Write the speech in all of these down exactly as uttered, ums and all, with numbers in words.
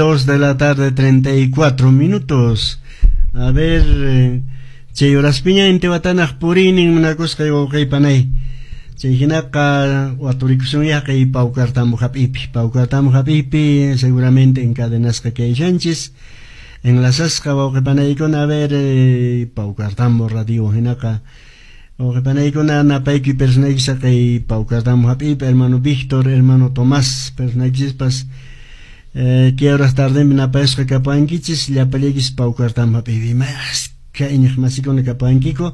Dos de la tarde, treinta y cuatro minutos. A ver, eh, chay horaspiña intiwatanaq purinin munakusqay wawqiypanay. Chay hinaqa waturikusunyaqay Paucartambo hap'ipi. Paucartambo hap'ipi seguramente encadenasqa kayshanchis. Enlazasqa wawqipanaykuna, a ver, eh, Paucartambo radio hinaqa wawqipanaykuna napaykuy personayki saqay Paucartambo hap'ipi, hermano Víctor, hermano Tomás, personaykichispas. Eh, ¿Qué horas tardenpi napayasqa kapankichis? Llapallaykichis Paucartambo hap'ipi maska iñiqmasikuna kapankiku.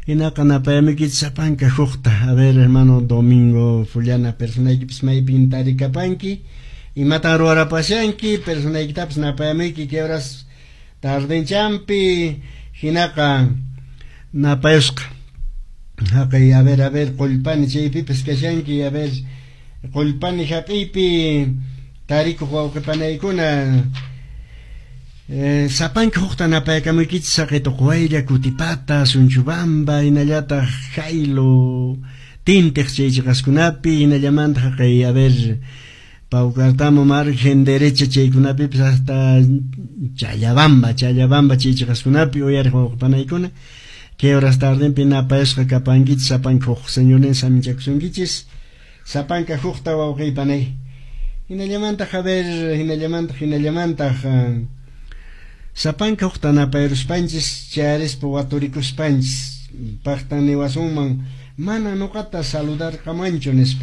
Hinaqa napayamuykichis sapanka hukta. A ver, hermano Domingo Fullana, personaykipis maypin tarikapanki? Imatan ruwarapashanki? Personaykitapas napayamuyki qué horas tardenchampi. Hinaqa napayusqa. Haqay, a ver, a ver, Qullpani chaypipas kashanki, a ver, Qullpani hap'iypi tarikuq wawqipanaykuna. Eh, sapanka hukta napaykamuykichis saqay Tuqwaylla, Kutipata, Sunchubamba, hinallataq Jailo, Tintiq chay chiqaskunapi, hinallamanta haqay, a ver, Paucartambo margen derecha chaykunapipis hasta Challabamba, Challabamba chay chiqaskunapi uyariq wawqipanaykuna. ¿Qué horas tardenpi napayasqa kapankichis sapanka huk señornin saminchakusunkichis? Sapanka hukta wawqiypanay. Hinallamantaq, a ver, hinallamantaq, hinallamantaq, sapanka hukta napayaruspanchis chayarispa waturikuspanchis paqtan niwasunman mana nuqata saludarqamanchu nispa.